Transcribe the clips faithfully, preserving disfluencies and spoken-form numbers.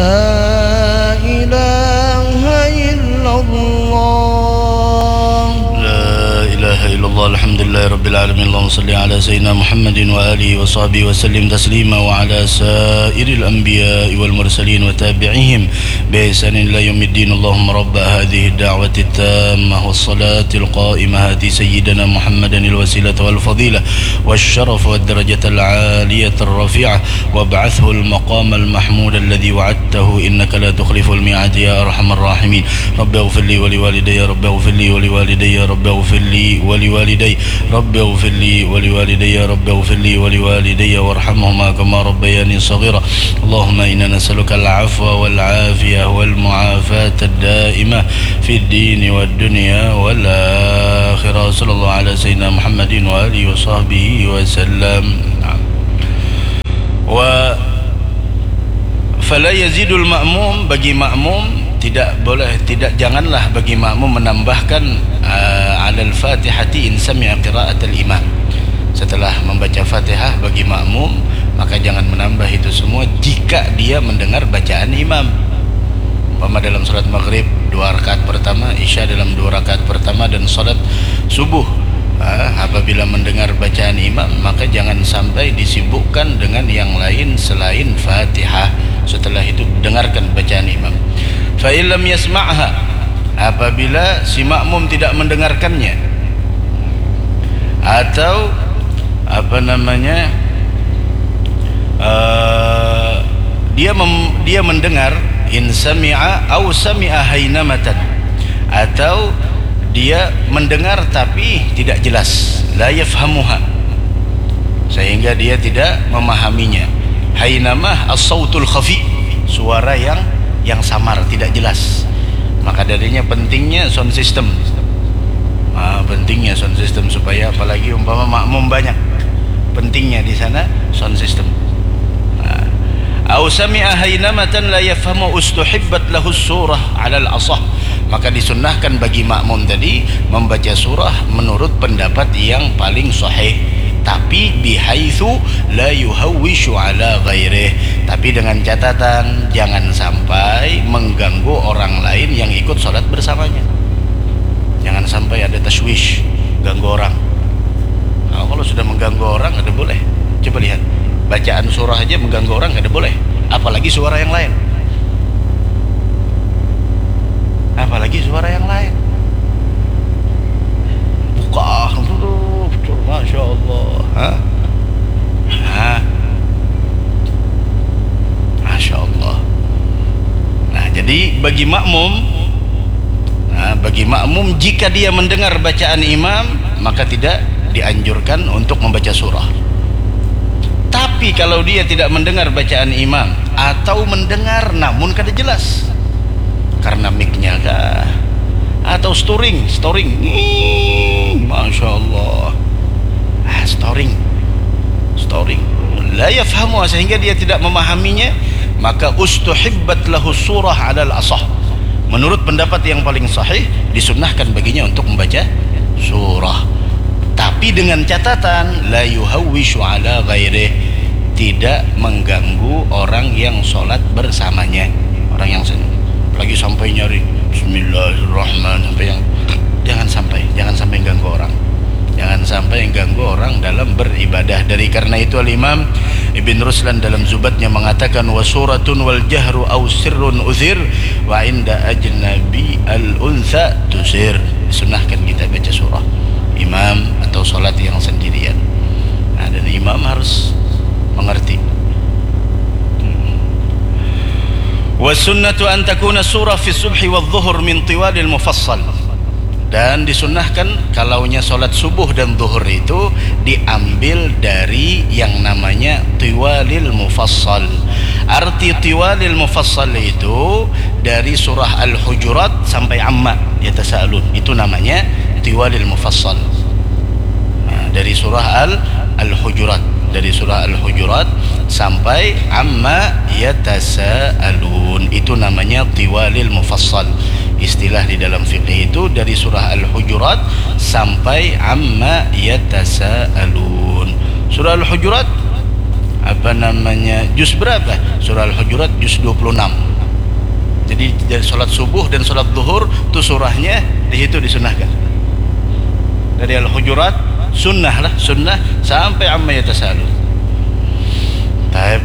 لا إله إلا الله. لا إله إلا الله. الحمد لله رب العالمين. اللهم صل على سيدنا محمد وآله وصحبه وسلم تسليما، وعلى سائر الأنبياء والمرسلين وتابعيهم بإحسان إلى يوم الدين. اللهم رب هذه الدعوة التامة والصلاة القائمة، آت سيدنا محمدا الوسيلة والفضيلة والشرف والدرجة العالية الرفيعة، وابعثه المقام المحمود الذي وعدته، إنك لا تخلف الميعاد يا أرحم الراحمين. رب اغفر لي ولوالدي، رب اغفر لي ولوالدي، رب اغفر لي ولوالدي، رب اغفر لي ولوالدي، رب اغفر لي ولوالدي وارحمهما كما ربياني صغيرا. اللهم إنا نسألك العفو والعافية والمعافاة الدائمة في الدين والدنيا والآخرة. صلى الله على سيدنا محمد وآله وصحبه وسلم. نعم. و فلا يزيد المأموم, bagi makmum tidak boleh, tidak, janganlah bagi makmum menambahkan, eh, على الفاتحة إن سمع قراءة الإمام. Setelah membaca Fatihah bagi makmum, maka jangan menambah itu semua jika dia mendengar bacaan imam. Umpama dalam salat maghrib dua rakaat pertama, isya dalam dua rakaat pertama, dan salat subuh, ah, apabila mendengar bacaan imam, maka jangan sampai disibukkan dengan yang lain selain Fatihah. Setelah itu dengarkan bacaan imam. Fa in lam yasma'ha, apabila si makmum tidak mendengarkannya, atau apa namanya, eh, dia mem-, dia mendengar, in sami'a au sami'a hainamatan, atau dia mendengar tapi tidak jelas, la yafhamuha, sehingga dia tidak memahaminya. Hainamah as-sautul khafi, suara yang, yang samar, tidak jelas. Maka darinya pentingnya sound system. Ah, pentingnya sound system supaya, apalagi umpama makmum banyak, pentingnya di sana sound system. Ah. Au sami'a hainamatan la yafhamu ustuhibbat lahus surah alal asah. Maka disunnahkan bagi makmum tadi membaca surah menurut pendapat yang paling sahih, tapi bihaitsu la yuhawwishu ala ghairih, tapi dengan catatan jangan sampai mengganggu orang lain yang ikut salat bersamanya. Jangan sampai ada tashwish, ganggu orang. Nah, kalau sudah mengganggu orang, kada boleh. Coba lihat, bacaan surah aja mengganggu orang, kada boleh. Apalagi suara yang lain. Apalagi suara yang lain. Buka, betul, betul, Masya Allah. Hah? Hah? Masya Allah. Nah, jadi bagi makmum, nah, bagi makmum, jika dia mendengar bacaan imam, maka tidak dianjurkan untuk membaca surah. Tapi kalau dia tidak mendengar bacaan imam, atau mendengar namun kada jelas, karena mic-nya kah, atau storing, storing, Nging, Masya Allah, ah, storing, storing, la yafhamu, sehingga dia tidak memahaminya, maka ustuhibbat lahu surah alal asah. Menurut pendapat yang paling sahih, disunnahkan baginya untuk membaca surah, tapi dengan catatan la yuhawwishu ala ghairih, tidak mengganggu orang yang sholat bersamanya. Orang yang sen-, lagi sampai nyari Bismillahirrahmanirrahim, sampai yang, jangan sampai, jangan sampai ganggu orang. Jangan sampai ganggu orang dalam beribadah. Dari karena itu, Al-Imam Ibn Ruslan dalam Zubatnya mengatakan, "Wa suratun wal jahru au sirrun uthir, wa inda ajnabi al untha tusir." Disunahkan kita baca surah imam atau salat yang sendirian. Nah, dan imam harus mengerti. "Wa sunnatu an takuna surah fi subhi wa dhuhur min tiwalil mufassal." Dan disunahkan kalaunya salat subuh dan zuhur itu diambil dari yang namanya tiwalil mufassal. Arti tiwalil mufassal itu dari surah Al-Hujurat sampai Amma Yatasaalun. Itu namanya tiwalil mufassal. Nah, dari surah Al-, Al-Hujurat. Dari surah Al-Hujurat sampai Amma Yatasaalun. Itu namanya tiwalil mufassal. Istilah di dalam fikih itu dari surah Al-Hujurat sampai Amma Yatasaalun. Surah Al-Hujurat, apa namanya, juz berapa? Surah Al-Hujurat juz dua puluh enam. Jadi dari sholat subuh dan sholat duhur tu surahnya di situ disunahkan. Dari Al-Hujurat sunnah lah, sunnah sampai Amma Yatasaalun. Taib.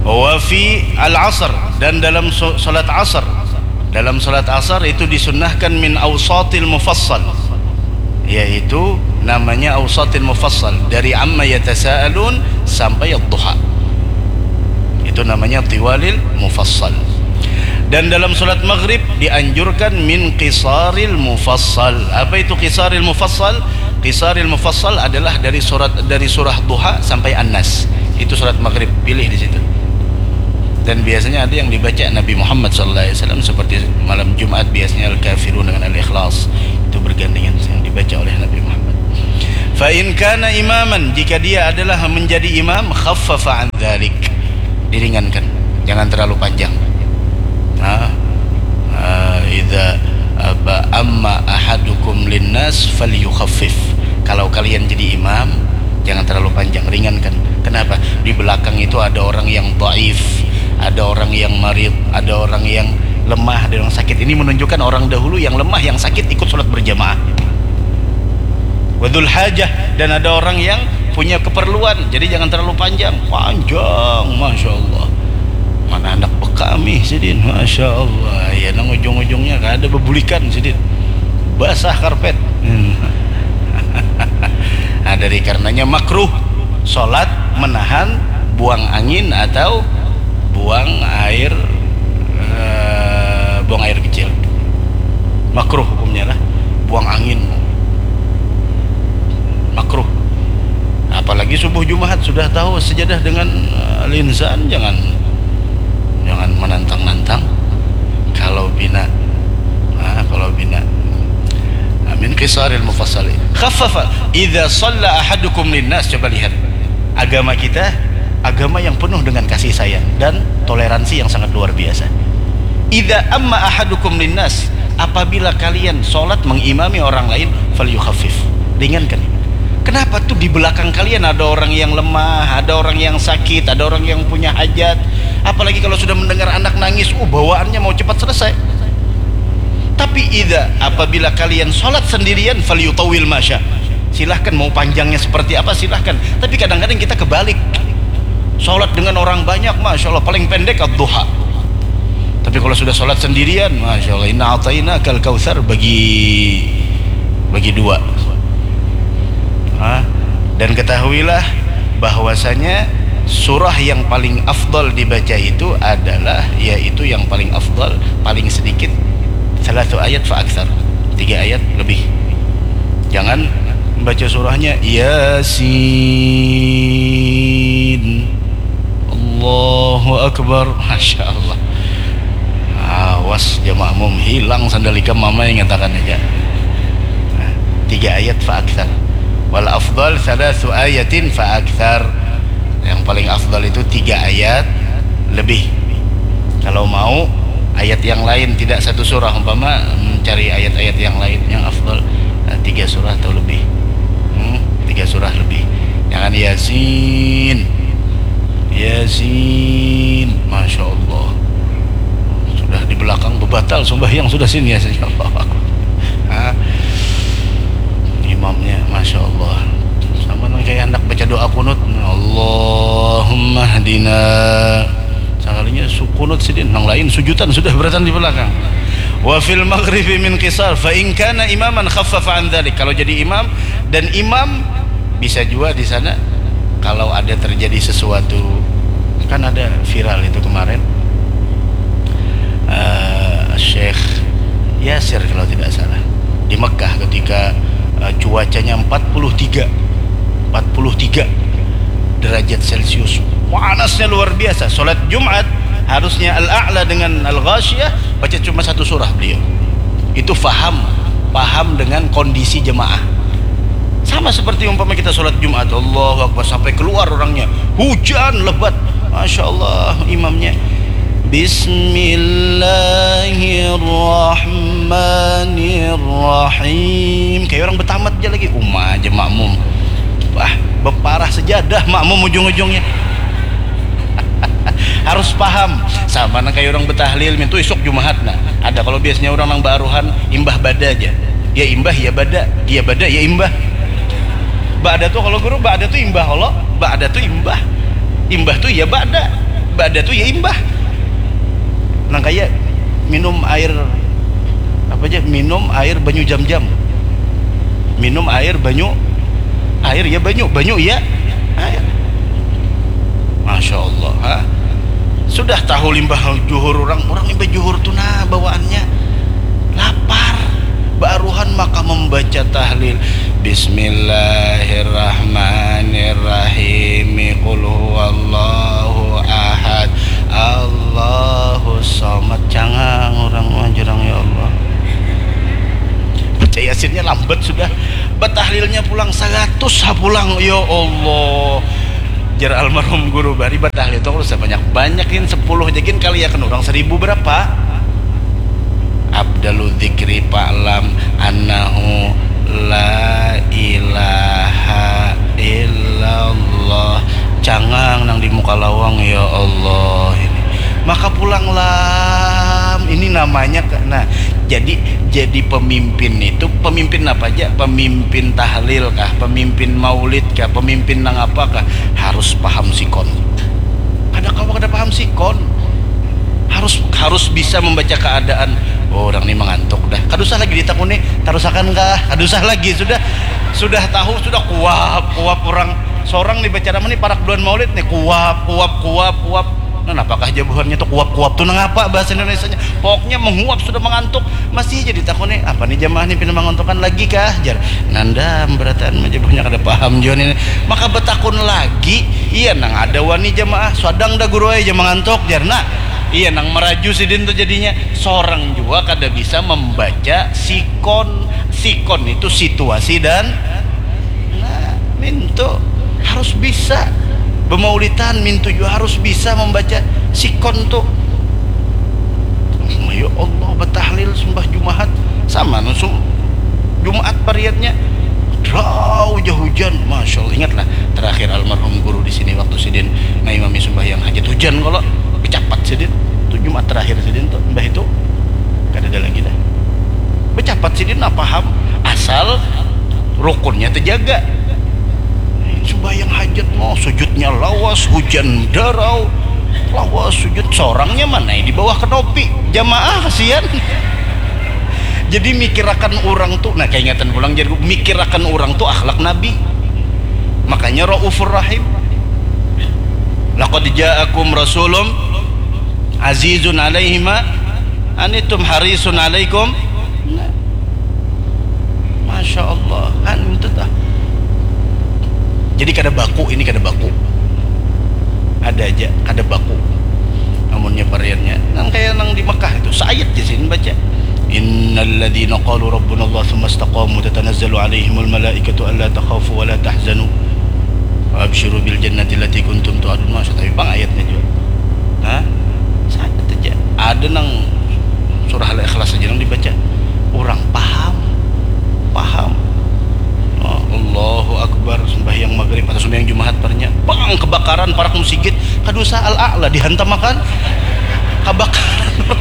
Wa fi al-asr, dan dalam so- sholat asar. Dalam sholat asar itu disunnahkan min awsatil mufassal, yaitu namanya awsatil mufassal, dari Amma Yatasaalun sampai Ad-Duha. Itu namanya tiwalil mufassal. Dan dalam sholat maghrib dianjurkan min qisaril mufassal. Apa itu qisaril mufassal? Qisaril mufassal adalah dari surat, dari surah Duha sampai An-Nas. Itu sholat maghrib, pilih di situ. Dan biasanya ada yang dibaca Nabi Muhammad sallallahu alaihi wasallam, seperti malam Jumat biasanya Al-Kafirun dengan Al-Ikhlas. Itu bergandengan yang dibaca oleh Nabi Muhammad. Fa in kana imaman, jika dia adalah menjadi imam, khaffafa an dzalik. Diringankan. Jangan terlalu panjang. Nah, ah, idza, apa, amma ahadukum linnas falyukhaffif. Kalau kalian jadi imam, jangan terlalu panjang, ringankan. Kenapa? Di belakang itu ada orang yang dhaif, ada orang yang marid, ada orang yang lemah, ada orang sakit. Ini menunjukkan orang dahulu yang lemah, yang sakit ikut sholat berjamaah. Wa dzul hajah, dan ada orang yang punya keperluan, jadi jangan terlalu panjang. Panjang, masya Allah. Mana anak bekami sidin, masya Allah. Ya, nang ujung-ujungnya kada bebulikan sidin, basah karpet. Hmm. Nah, dari karenanya makruh sholat menahan buang angin atau buang air, eh, buang air kecil. Makruh hukumnya lah, buang angin. Makruh. Apalagi subuh Jumat, sudah tahu sajadah dengan, eh, linsan, jangan, jangan menantang-nantang. Kalau bina, ah, kalau bina, ah, min qisaril mufassali. Khaffafa idza shalla ahadukum linnas. Coba lihat, agama kita agama yang penuh dengan kasih sayang dan toleransi yang sangat luar biasa. Idza amma ahadukum linnas, apabila kalian sholat mengimami orang lain, falyukhaffif, ringankan. Kenapa tuh di belakang kalian ada orang yang lemah, ada orang yang sakit, ada orang yang punya hajat? Apalagi kalau sudah mendengar anak nangis, uh, bawaannya mau cepat selesai. Tapi idza, apabila kalian sholat sendirian, falyutawwil masya, silahkan, mau panjangnya seperti apa silahkan. Tapi kadang-kadang kita kebalik, sholat dengan orang banyak, masya Allah, paling pendek ad-duha. Tapi kalau sudah sholat sendirian, masya Allah, inna ataina kal kautsar, bagi, bagi dua. Hah? Dan ketahuilah bahwasanya surah yang paling afdal dibaca itu adalah, yaitu yang paling afdal, paling sedikit, salatu ayat fa aktsar, tiga ayat lebih. Jangan membaca surahnya Yasin, Allahu Akbar, masya Allah. Awas ja makmum, hilang sandal ikam, mama ingatakan aja. Nah, tiga ayat fa aktsar. Wal afdal thalathu ayatin fa aktsar. Yang paling afdal itu tiga ayat lebih. Kalau mau ayat yang lain, tidak satu surah, umpama mencari ayat-ayat yang lain yang afdal, eh, tiga surah atau lebih. Hmm, tiga surah lebih. Jangan Yasin. Yasin, masya Allah. Sudah di belakang bebatal sembahyang sudah sini, Yasin. Allahu Akbar. Hah? Imamnya, masya Allah. Sama nang kayak hendak baca doa kunut. Allahumma hdina. Sakalinya su- kunut sidin, nang lain sujutan sudah beratan di belakang. Wa fil maghribi min qisar, fa in kana imaman khaffafa an dzalik. Kalau jadi imam dan imam, bisa juga di sana kalau ada terjadi sesuatu, kan ada viral itu kemarin, eh, Syekh Yasir kalau tidak salah, di Mekah ketika, eh, cuacanya empat puluh tiga, empat puluh tiga derajat Celcius, panasnya luar biasa. Sholat Jumat harusnya Al-A'la dengan Al-Ghasyiyah, baca cuma satu surah beliau. Itu faham, paham dengan kondisi jemaah. Sama seperti umpama kita sholat Jumat, Allahu Akbar, sampai keluar orangnya, hujan lebat, masya Allah, imamnya, Bismillahirrahmanirrahim. Kayak orang betamat aja lagi, uma aja makmum. Wah, beparah sejadah makmum ujung-ujungnya. Harus paham. Sama nang kayak orang betahlil mintu isuk Jumahat. Nah, ada kalau biasanya orang nang baaruhan imbah bada aja. Ya imbah, ya bada, ya bada, ya imbah. Ba'da tuh kalau guru, ba'da tuh imbah kalau, ba'da tuh imbah. Imbah tuh ya ba'da, ba'da tuh ya imbah. Nang kayak minum air apa aja, minum air banyu jam-jam. Minum air banyu, air ya banyu, banyu ya air. Masya Allah, ha? Sudah tahu limbah juhur orang, orang limbah juhur tuh nah bawaannya lapar. Baruhan maka membaca tahlil. Bismillahirrahmanirrahim. Qul huwallahu ahad. Allahu somad. Cangang orang mah jurang, ya Allah. Baca Yasinnya lambat sudah. Batahlilnya pulang seratus ha pulang. Ya Allah. Jar almarhum guru bari batahlil tuh kalau sebanyak-banyak ini sepuluh aja gin kali ya kan orang seribu berapa? Abdalu dzikri fa'lam annahu la ilaha illallah. Cangang nang di muka lawang, ya Allah ini. Maka pulang lam ini namanya ke- nah, jadi jadi pemimpin itu pemimpin apa aja? Pemimpin tahlil kah? Pemimpin maulid kah? Pemimpin nang apa kah? Harus paham sikon. Kada kawa kada paham sikon. Harus harus bisa membaca keadaan. Oh, orang ini mengantuk dah. Kada usah lagi ditakuni, tarusakan kah? Kada usah lagi, sudah sudah tahu, sudah kuap kuap orang. Seorang nih baca nama nih parak bulan maulid nih kuap kuap kuap kuap. Nah, apakah jawabannya tuh kuap-kuap tuh nangapa bahasa Indonesianya? Pokoknya menguap sudah mengantuk, masih jadi takuni apa nih jamaah nih pina mengantukan lagi kah jar. Nandam berataan mah jawabannya kada paham juga nih. Maka betakun lagi, iya nang ada wani jamaah, sadang dah guru aja mengantuk jar. Nah, iya nang meraju sidin tuh jadinya seorang juga kada bisa membaca sikon. Sikon itu situasi dan nah, mintu harus bisa bemaulitan, mintu juga harus bisa membaca sikon tu. Ya Allah, batahlil sembah Jumahat sama nusum Jumat pariatnya. Drau ja hujan, masya Allah. Ingatlah terakhir almarhum guru di sini waktu sidin maimami sembahyang hajat hujan kalau becapat sidin. Itu Jumat terakhir sidin tuh, mbah itu kada ada lagi dah. Becapat sidin nah paham asal rukunnya terjaga. Sembahyang hajat mau sujudnya lawas, hujan darau, lawas sujud, seorangnya mana di bawah kenopi, jamaah kasihan. Jadi mikirakan orang tuh, nah, kaingatan pulang jadi mikirakan orang tuh akhlak Nabi. Makanya raufur rahim. Laqad ja'akum rasulun azizun alaihima anitum harisun alaikum. Nah. Masya Allah, kan itu tah. Jadi kada baku, ini kada baku. Ada aja kada baku. Namunnya variannya nang kayak nang di Mekah itu, saayat ja sini baca. Innalladzina qalu rabbunallah tsumma istaqamu tatanazzalu alaihimul malaikatu alla takhafu wa la tahzanu wa absyiru bil jannati allati kuntum tu'adun. Masya, tapi pang ayatnya juga. Nah, saayat aja. Ada nang surah Al-Ikhlas aja nang dibaca. Orang paham. Paham. Oh, Allahu Akbar, sembahyang maghrib atau sembahyang Jumahat parnya. Bang, kebakaran parak musigit. Kada usah Al-A'la dihantam akan. Kebakaran.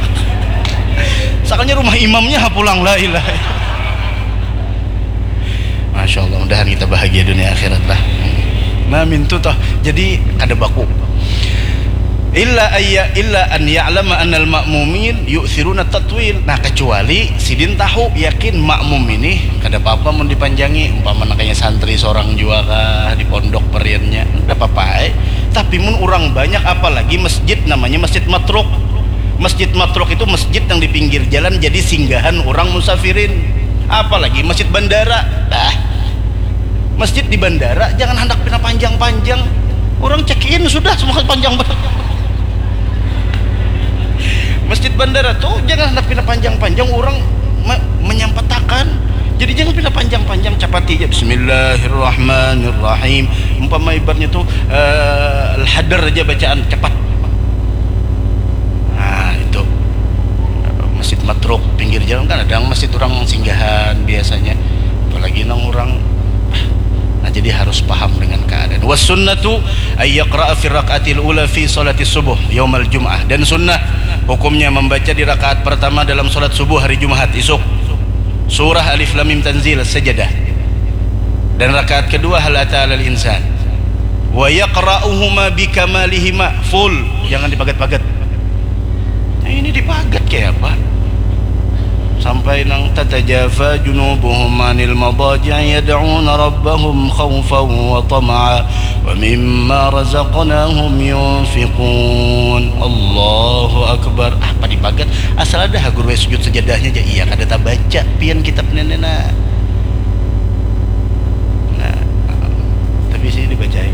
Sakanya rumah imamnya ha pulang, la ilaha. Masya Allah, mudahan kita bahagia dunia akhirat lah. Nah, mintu toh. Jadi kada baku. Illa ayya illa an ya'lama annal ma'mumin yu'thiruna tatwil. Nah, kecuali sidin tahu yakin makmum ini kada apa-apa mun dipanjangi. Umpama nang kaya santri seorang jua kah di pondok periannya, kada apa-apa ai. Tapi mun orang banyak, apalagi masjid namanya Masjid Matruk. Masjid Matruk itu masjid yang di pinggir jalan jadi singgahan orang musafirin. Apalagi masjid bandara. Bah. Masjid di bandara jangan hendak pina panjang-panjang. Orang check in sudah semua panjang banget. Masjid bandara tuh jangan hendak pina panjang-panjang orang me- menyampatakan. Jadi jangan pina panjang-panjang, capati aja Bismillahirrahmanirrahim. Umpama ibaratnya tuh eh, hadar aja bacaan cepat. Nah, itu. Masjid Matruk pinggir jalan kan ada yang masjid orang singgahan biasanya. Apalagi nang orang. Nah, jadi harus paham dengan keadaan. Was sunnatu Ay yaqra'a fi rak'atil ula fi salati subuh yaumal jum'ah. Dan sunnah hukumnya membaca di rakaat pertama dalam salat subuh hari Jumat isuk surah Alif Lam Mim Tanzil sajadah. Dan rakaat kedua hal ata alal insan. Wa yaqra'uhuma bikamalihima, full, jangan dipagat-pagat. Nah, ini dipagat kayak apa? Sampai nang tatajafa junubuhum anil madaji'i yad'una rabbahum khawfan wa tama'a wa mimma razaqnahum yunfiqun. Allahu akbar. Apa dipagat? Asal ada ha guru sujud sajadahnya aja. Iya, kada tabaca pian kitab nenek nah. Nah, tapi sini dibacai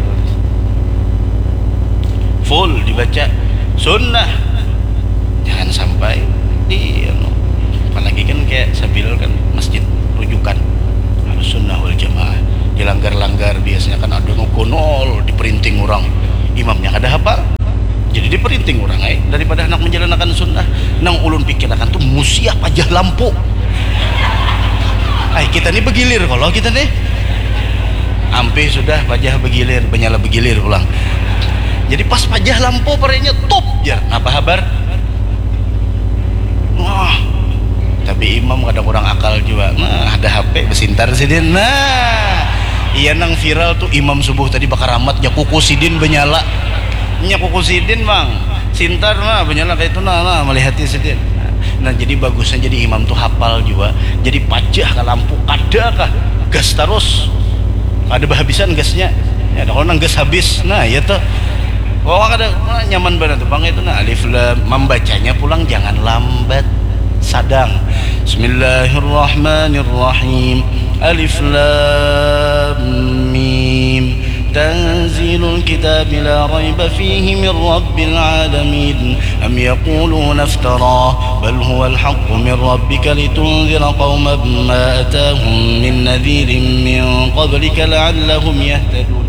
full, dibaca sunnah. Jangan sampai di anu. Apalagi kan kayak Sabil kan masjid rujukan harus sunnah wal jamaah. Dilanggar-langgar biasanya kan ada nu konol di printing orang. Imamnya kada hafal. Jadi di printing orang ai daripada hendak menjalankan sunnah. Nang ulun pikirakan tuh musia pajah lampu. Ai kita nih begilir kalau kita nih. Ampih sudah pajah begilir, benyala begilir pulang. Jadi pas pajah lampu parenya tup jar. Napa habar? Wah, tapi imam kada kurang akal juga. Nah, ada H P besintar sidin. Nah, iya nang viral tuh imam subuh tadi bakaramat nya kuku sidin benyala. Nya kuku sidin, Bang. Sintar nah benyala kayak itu nah, nah melihati sidin. Nah, jadi bagusnya jadi imam tuh hafal juga. Jadi pajah ke lampu kada kah gas terus. Ada bahabisan gasnya. Ya, ada kalau nang gas habis. Nah, iya tuh. Wah, kada wah, nyaman banget tuh bang itu nah alif lam membacanya pulang jangan lambat sadang. Bismillahirrahmanirrahim. Alif lam mim. تنزيل الكتاب لا ريب فيه من رب العالمين. أم يقولون افتراه بل هو الحق من ربك لتنذر قوما ما أتاهم من نذير من قبلك لعلهم يهتدون.